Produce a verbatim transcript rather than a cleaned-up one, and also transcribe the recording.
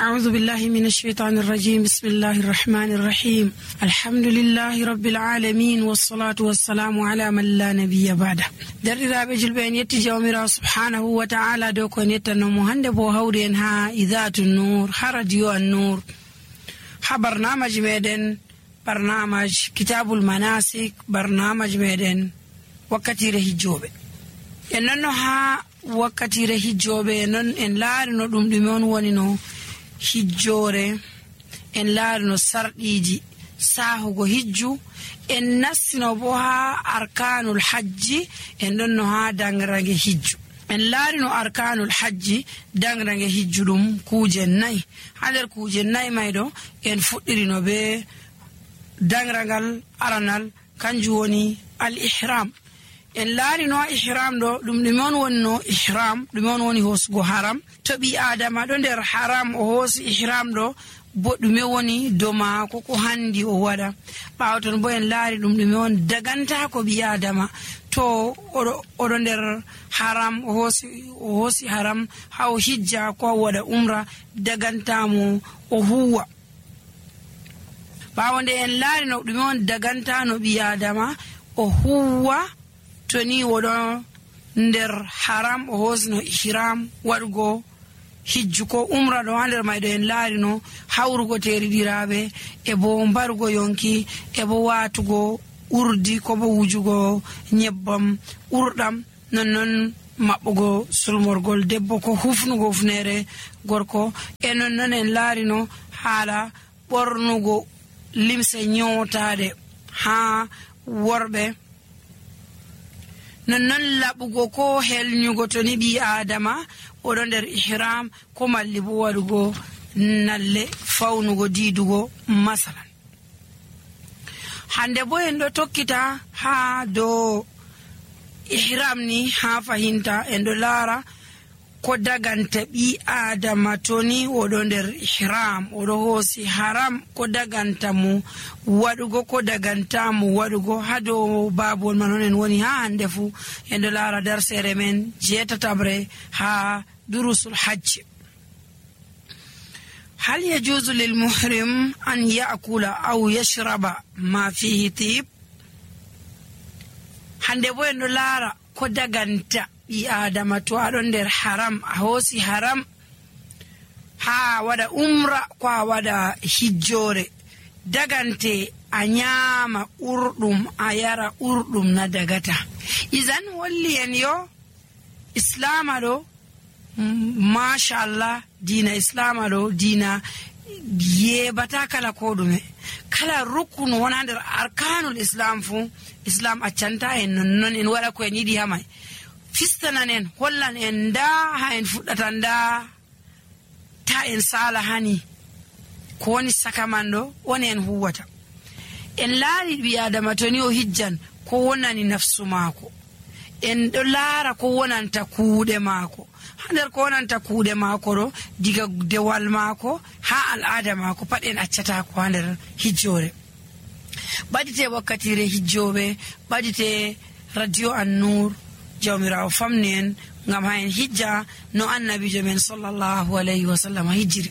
أعوذ بالله من الشيطان الرجيم بسم الله الرحمن الرحيم الحمد لله رب العالمين والصلاة والسلام على من لا نبي بعده درر بجلبين يتجاومر سبحانه وتعالى دوكون يتنمو هندبو هورين ها إذات النور حرجيو النور برنامج ميدن برنامج كتاب المناسك برنامج ميدن وقتي رهجوبه إننو ها وقتي رهجوبه إنن إن لارنو دم دمون ونينو hijjore en laarino sarɗiji sahugo hijju en nassino bo ha arkanul hajji en ɗonno ha dangrange hijju en laarino arkanul hajji dangrange hijju ɗum kuje nayi ha nder kuje nayi may ɗo en fuɗɗirino be dangrangal aranal kanjum woni al ihram en laarino ihram ɗo ɗum ɗume on wonno ihram ɗume on woni hosugo haram to ɓi adama ɗo nder haram o hoosi ihram ɗo bo ɗume woni dow maako ko handi o waɗa ɓaawo ton bo en laari ɗum ɗume on daganta ko ɓi adama to oɗo nder haram o hoosi o hoosi haram ha o hijja ko o waɗa umra dagantamo o huwa ɓaawo nde en laari no ɗume on dagantano ɓi adama o huwa to ni woɗo nder haram o hosino ihram waɗugo hijju ko umra ɗo ha nder mayɗo en laarino hawrugo teriɗiraɓe e bo mbarugo yonki e bo watugo urdi ko bo wujugo nyebbam urɗam nonnon maɓɓugo sulmorgol debbo ko hufnugo hufnere gorko e nonnon en laarino haala ɓornugo limse nyotaɗe ha worɓe nonnon laɓugo ko helnyugo to ni ɓi adama oɗo nder ihram ko malli bo waɗugo nalle fawnugo diidugo masalan hande bo en ɗo tokkita ha dow ihram ni ha fahinta en ɗo laara ko daganta ɓi adama to ni oɗo nder ihram oɗo hoosi haram ko daganta mo waɗugo ko daganta mo waɗugo ha dow babol man on en woni ha hande fu en ɗo laara darsere men jeetatabre ha durusul hajj hal yajuzu lil muhrim an ya'kula aw yashraba ma fihi tib hande bo en ɗo laara ko daganta ɓi adama to aɗon nder haram a hoosi haram ha waɗa umra ko a waɗa hijjore dagante a nyama urɗum a yara urɗum na dagata izan holli en yo islama ɗo mashallah dina islama ɗo dina yebata kala ko ɗume kala rukunu wona nder arkanul islam fu islam accanta en nonnon en waɗa ko en yiɗi ha may fistanan en hollan en nda ha en fuɗɗata nda ta en sala hani ko woni saka man ɗo woni en huwata en laari ɓi adama to ni o hijjan ko wonani nafsu maako en ɗo laara ko wonanta kuuɗe maako ha nder ko wonanta kuuɗe maako ɗo diga dewal maako ha al'ada maako pat en accata ko ha nder hijjore ɓadite wakkatire hijjoɓe ɓadite radio an-nur jawmirawo famni en ngam ha en hijja no annabijo men sallallahu alayhi wa sallam hijjiri